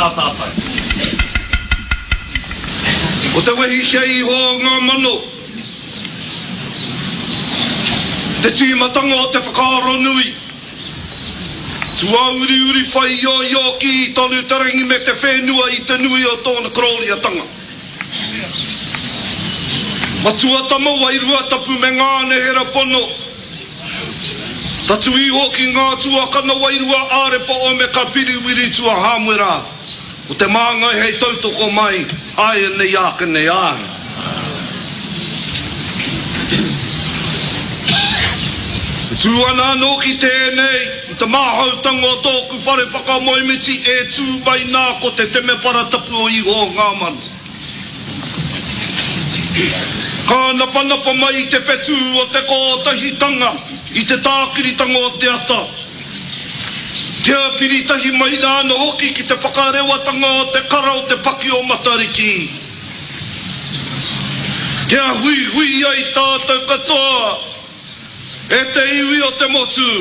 Tēnā tātou. Ko te wehi kia iho o ngā mano. Te tīmatanga o te whakaaro nui. Tuauriuri whai ioio kī tonu te rangi me te whenua i te nui o tōna korōriatanga. Matua tama wairua tapu me ngā nehera pono. Tatu iho ki ngā tuakana wairua ārepa Omeka Piriwiri Tua Hāmuera, ko te māngai hei tautoko mai āianei āke nei āna. E tū ana anō ki tēnei, i te māhautanga o tōku whare whakamoemiti e tū mai nā ko te temepara tapu o Iho o ngā mano. Ka napanapa mai te whetū o te kōtahitanga i te tākiritanga o te ata. Kia piri tahi mai rā anō hoki ki te whakarewatanga o te kara o te paki o Matariki. Kia huihui ai tātou katoa e te iwi o te motu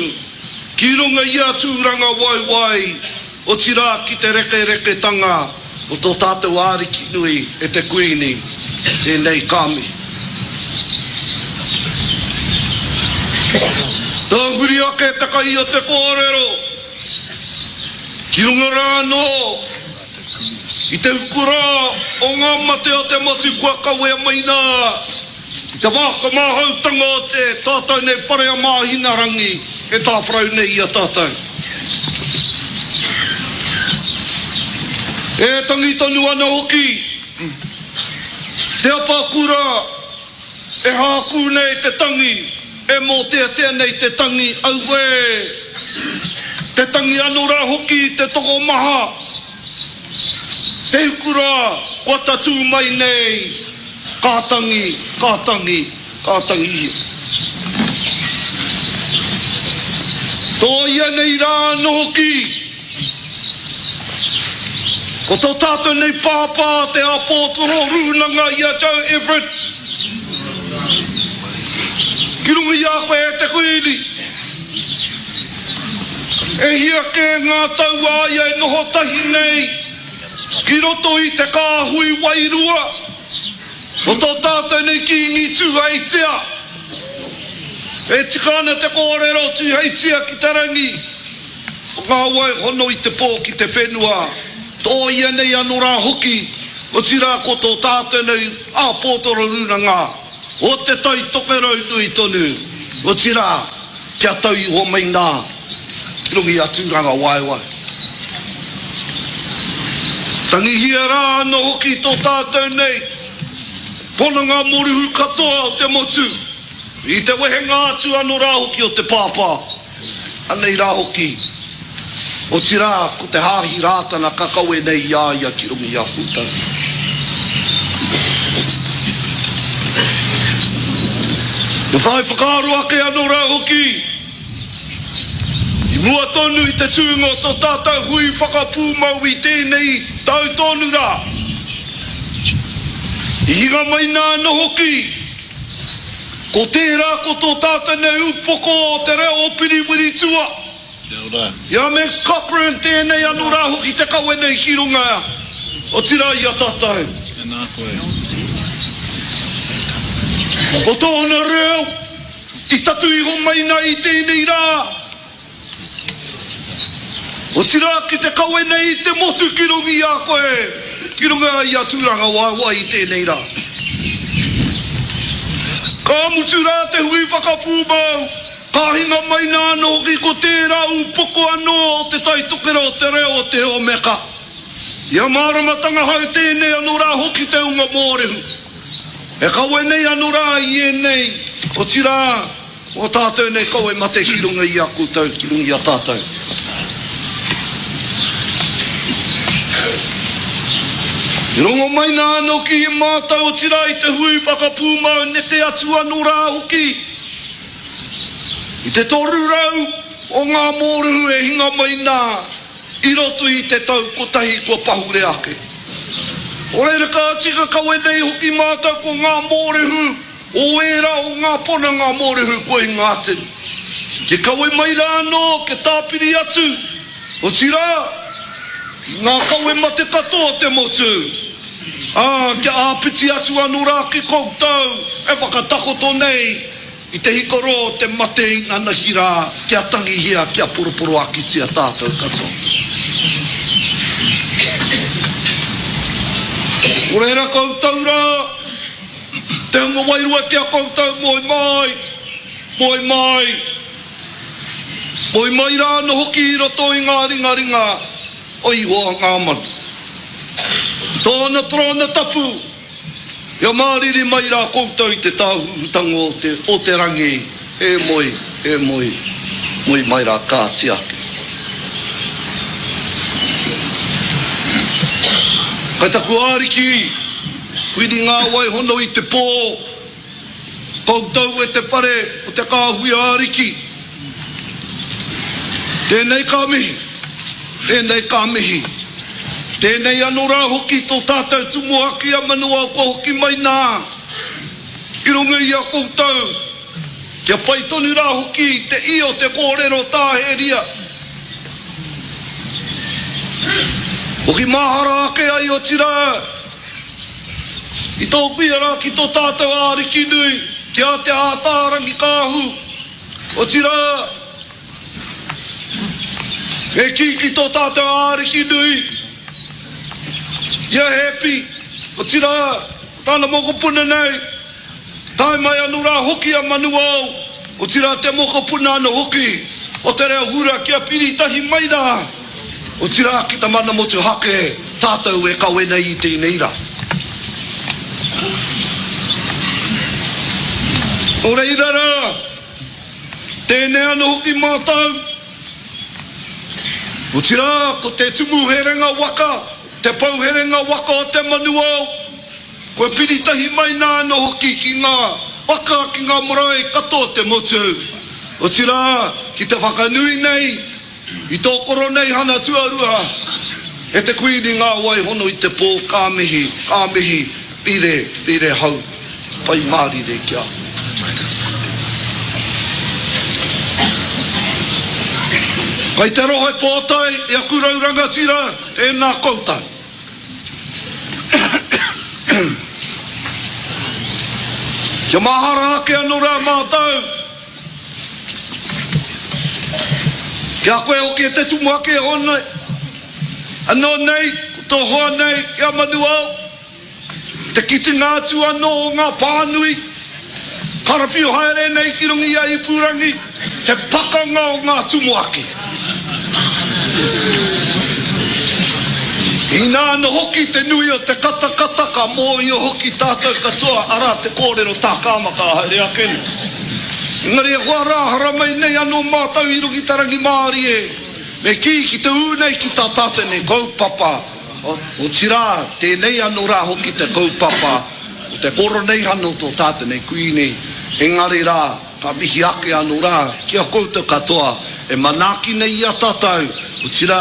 ki runga i a Tūrangawaewae, otirā ki te rekereketanga o tō tātou Ariki nui e te Kuini, tēnei ka mihi. Tahuri ake te kai o te kōrero ki runga rā anō i te ukura o ngā mate o te motu kua kawea mai nā I te wā whakamāhautanga o te tātou nei whare a Māhinarangi e tāwharau nei i a tātou. E tangi tonu ana hoki te apakura e hākū nei te tangi, e mōteatea nei te tangi, auē! Te tangi anō rā hoki i te tokomaha, te hukura kua tatū mai nei. Ka tangi, ka tangi, ka tangi ia. Tōia nei rā anō hoki. Ko tō tātou nei pāpā te āpōtoro rūnanga i a Joe Everett. Ki runga i a koe e te Kuini. E hia kē ngā tau a ia e noho tahi nei. Ki roto i te kāhui wairua o tō tātou nei Kīngi Tūheitia, e tika ana te kōrero Tūheitia ki te rangi, ko ngā wai hono i te pō ki te whenua, tōia nei anō rā hoki, otirā ko tō tātou nei āpōtoro rūnanga o Te Tai Tokerau nui tonu, otirā, Kia tau iho mai nā ki runga i a Tūrangawaewae. Tangihia rā anō hoki tō tātou nei pononga moruhu katoa o te motu i te wehenga atu anō rā hoki o te pāpā. Anei rā hoki, otirā ko te Hāhi Rātana ka kawe nei i a ia ki runga i a koutou. Me whai whakaaro ake anō rā hoki, i mua tonu i te tūnga o tō tātou hui whakapūmau i tēnei tau tonu rā, i hinga mai nā anō hoki, ko tērā ko tō tātou nei upoko o te reo o Piriwiritua. Kia ora. I a Max Cochrane tēnei anō rā hoki te kawe nei ki runga, otirā i a tātou. Tēnā koe. Ko tōna reo i tatu iho mai nā i tēnei rā, otirā ki te kawe nei i te motu ki runga i a koe, ki runga i a Tūrangawaewae i tēnei rā. Ka mutu rā te hui whakapūmau, ka hinga mai nā anō hoki ko tērā ūpoko anō o Te Tai Tokerau o te reo o te Omeka. Ia māramatanga hau tēnei anō rā hoki te unga mōrehu. E kawe nei anō rā i ēnei, otirā, Ko tātou nei kawe mate ki runga i a koutou, ki runga i a tātou. I rongo mai nā anō ki i mātou, otirā i te hui whakapūmau neke atu anō rā hoki i te 300 o ngā mōrehu e hinga mai nā i roto i te tau kotahi kua pahure ake. Nō reira ka tika kawe nei hoki mātou ko ngā mōrehu O ērā o ngā ponanga mōrehu kua i ngā atu. Ke kawe mai rā anō, ke tāpiri atu, otirā, I ngā kawe mate katoa o te motu, ā, kia āpiti atu anō rā ki koutou e whakatakoto nei i te hikoro o te mate inanahi rā, kia tangihia, kia poroporoakitia tātou katoa. Nō reira koutou rā, te hunga wairua ki a koutou, moe mai, moe mai. Moe mai rā anō hoki i roto i ngā ringaringa o Ihowa ngā manu. I tōna torōna tapu, kia māriri mai rā koutou i te tāhuhutanga o te, o te rangi, e moe, e moe, moe mai rā kāti ake. Kai taku Ariki, whiri ngā wai hono i te pō, Koutou e te whare o te kāhui ariki, tēnei ka mihi, tēnei ka mihi. Tēnei anō rā hoki tō tātou tumuaki a Manuao kua hoki mai nā i runga i a koutou, kia pai tonu rā hoki te ia o te kōrero tāheria. Hoki mahara ake ai otirā, I tōku ia rā ki tō tātou Ariki nui, ki a Te Ātaarangi-kāhu, otirā, me kī ki tō tātou Ariki nui, i a Hepi, otirā, ko tāna mokopuna nei, Tae mai anō rā hoki a Manuao, otirā te mokopuna anō hoki o te reo hura kia piri tahi mai rā, otirā ki ta mana motuhake tātou e kawe nei i tēnei rā. Nō reira rā, tēnei anō hoki mātou, otirā ko te tumu herenga waka, te pou herenga waka o te Manuao, Kua piri tahi mai nā anō hoki ki ngā waka, ki ngā marae katoa o te motu, otirā, ki te whakanui nei i tō Koroneihana tuarua e te Kuini ngā wai hono i te pō, ka mihi, ka mihi, rire, rire hau, pai mārire ki a koe. Kai te rohe pōtae i aku rau rangatira, tēnā koutou. Kia mahara ake anō rā mātou Ki a koe hoki e te tumuaki e hoa nei, anō nei, ko tō hoa nei i a Manuao. Te kitenga atu anō o ngā pānui karawhiu haere nei ki runga i a Ipurangi, te pakanga o ngā tumuaki. Inā anō hoki te nui o te katakata ka mōhio hoki tātou katoa arā te kōrero tākāma ka haere ake nei. Engari e hoa rā haramai nei anō mātou i runga i te rangimārie me kī ki te ū nei ki tā tātou nei kaupapa Otirā, tēnei anō rā hoki te kaupapa o te Koroneihana o tō tātou nei Kuini, engari rā, ka mihi ake anō rā ki a koutou katoa e manaaki nei i a tātou, otirā,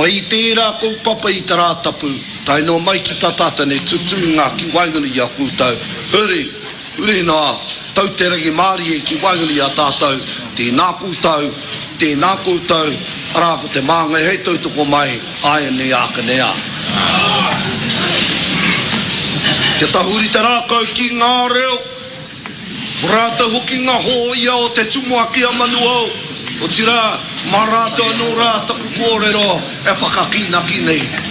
mai i tērā kaupapa i te Rātapu, tae noa mai ki tā tātou nei tutūnga ki waenganui i a koutou, huri, Huri noa, tau te rangimārie ki waenganui i a tātou, tēnā koutou, tēnā koutou, arā ko te māngai hei tautoko mai, āianei ākene ā. Kia tahuri te rākau ki ngā reo, ko rātou hoki ngā hōia o te tumuaki a Manuao, otirā, mā rātou anō rā taku kōrero e whakakīnaki nei.